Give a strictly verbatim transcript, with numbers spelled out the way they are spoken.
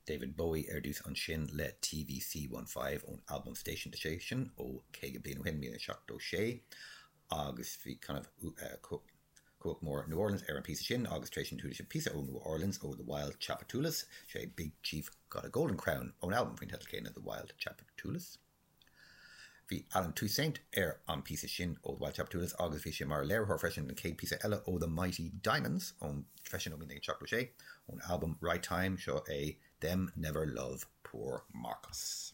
David Bowie ar dtús ansin le TVC One Five ón albam Station to Station ó caoga bliain ó shin míle seachtó sé agus bhí kind of uh, cumhacht mór New Orleans ar an píosa sin agus tar éis sin chuala sibh píosa ó New Orleans ó The Wild Tchoupitoulas sé Big Chief Got a Golden Crown ón albam faoin teideal céanna The Wild Tchoupitoulas. Bhí Allen Toussaint ar an píosa sin ó Wild Tchoupitoulas agus bhí sé mar léiritheoir freisin an chéad píosa eile ó The Mighty Diamonds ón freisin ó míle seachtó sé ón albam Right Time seo é Them Never Love Poor Marcus.